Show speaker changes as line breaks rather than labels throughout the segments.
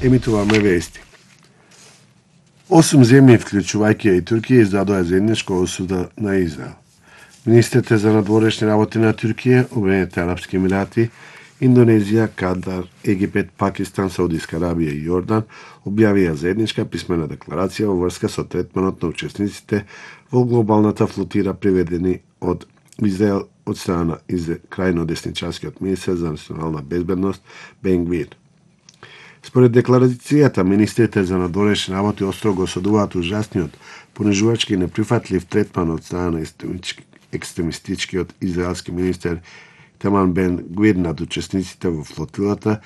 Емитуваме вести. 8 земји, вклучувајќи и Туркија, издадоа заедничка осуда на Израел. Министрите за надворешни работи на Туркија, Обединетите арапски емирати, Индонезија, Катар, Египет, Пакистан, Саудиска Арабија и Јордан објавија заедничка писмена декларација во врска со третманот на учесниците во глобалната флотира приведени од Израел од страна крајно десничарскиот министер за национална безбедност Бен Гвир. Според декларацијата, министрите за надворешни работи острого осудуваат ужасниот, понижувачки и неприфатлив третман од страна на екстремистичкиот израелски министер Таман Бен Гвир над учесниците во флотилата,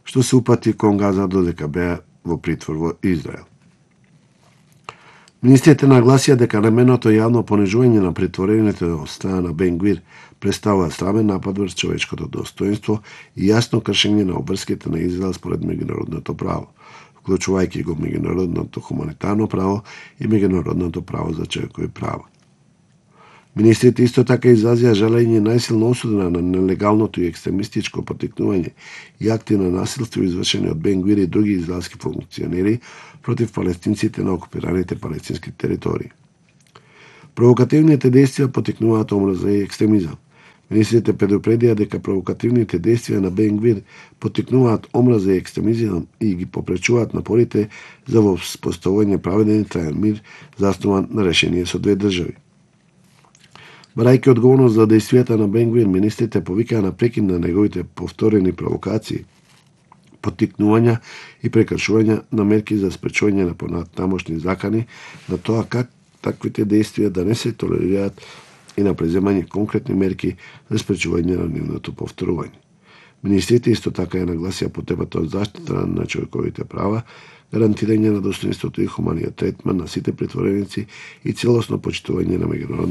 што се упати кон Газа додека беа во притвор во Израел. Министрите нагласија дека наменото јавно понижување на притворените од страна на Бен Гвир представува срамен напад врз човечкото достоинство и јасно кршење на обврските на Израел според меѓународното право, вклучувајќи го меѓународното хуманитарно право и меѓународното право за човекови права. Министрите исто така изразија жалење најсилна осуда на нелегалното и екстремистичко поттикнување и акти на насилство извршени од Бен Гвир и други израелски функционери против палестинците на окупираните палестински територии. Провокативните действија поттикнуваат омраза и екстремизам. Министрите предупредија дека провокативните действија на Бен Гвир поттикнуваат омраза и екстремизам и ги попречуваат напорите за воспоставување праведен и траен мир заснован на решение со две држави. Барајќи одговорност за действијата на Бен Гвир, министрите повикаа на прекин на неговите повторени провокации, поттикнувања и прекршувања на мерки за спречување на понатамошни закани, на тоа как таквите действија да не се толерираат и на преземање конкретни мерки за спречување на нивното повторување. Министрите исто така ја нагласија потребата од заштита на човековите права, гарантирање на достоинството и хуманиот третман на сите притвореници и целосно почитување на меѓународното